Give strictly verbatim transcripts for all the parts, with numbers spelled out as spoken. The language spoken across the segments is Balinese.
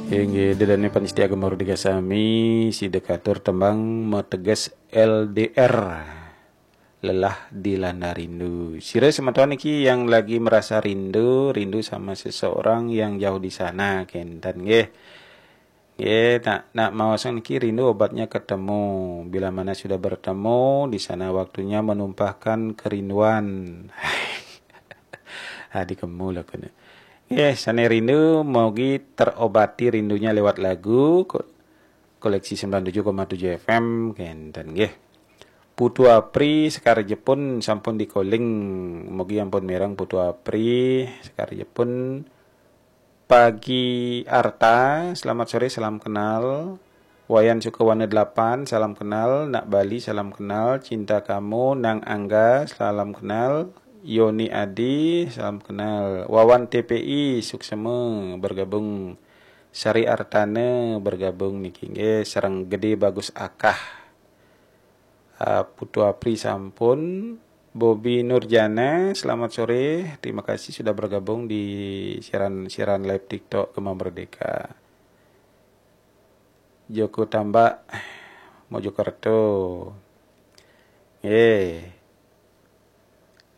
Inggih, dedane panitia Gema Merdeka sami, sida katur tembang mateges L D R. Lelah dilanda rindu. Sira semeton niki yang lagi merasa rindu, rindu sama seseorang yang jauh di sana, kenten nggih. Nggih, nak, nak maos niki rindu obatnya ketemu. Bila mana sudah bertemu, di sana waktunya menumpahkan kerinduan. Adi kemu lah kena. Nggih, sane rindu mogi terobati rindunya lewat lagu ko-, koleksi sembilan tujuh koma tujuh F M, kenten nggih. Putu Apri Sekar Jepun sampun dikoling, mogi ampun mireng Putu Apri Sekar Jepun. Pagi Arta, selamat sore, salam kenal. Wayan Sukawana delapan, salam kenal. Nak Bali, salam kenal. Cinta Kamu, Nang Angga, salam kenal. Yoni Adi, salam kenal. Wawan T P I, suksema bergabung. Sari Artana bergabung niki nggih, sareng Gede Bagus Akah. Ah, Putu Apri sampun. Bobi Nurjana, selamat sore. Terima kasih sudah bergabung di siaran, siaran live TikTok Gema Merdeka. Joko Tambak, Mojokerto. Nggih.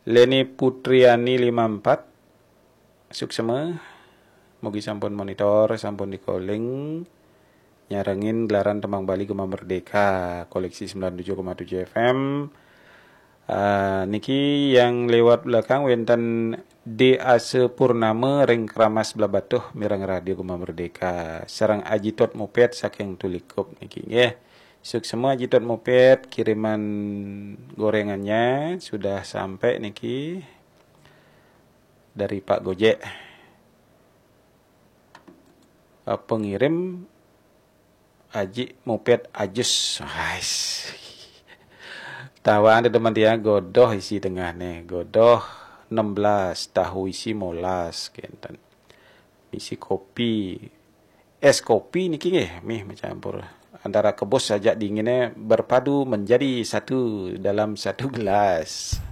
Leni Putriani lima empat, suksema. Mugi sampun monitor, sampun dikoling. Nyarengin gelaran Tembang Bali Gema Merdeka, koleksi sembilan tujuh koma tujuh F M. Ah, niki yang lewat belakang wenten D Ase Purnama ring Keramas Blahbatuh mireng Radio Gema Merdeka. Sareng Aji Tot Mupet saking Tulikup niki nggih. Suksema Aji Tot Mupet, kiriman gorengannya sudah sampai niki dari Pak Gojek. Ah, pengirim Aji Mupet Ajus. Ais. Tawang ada teman tiang godoh isi tengah nih. Godoh enam belas, tahu isi molas, kenten. Isi kopi. Es kopi niki nggih, mih mencampur. Antara kebus saja dinginnya berpadu menjadi satu dalam satu gelas.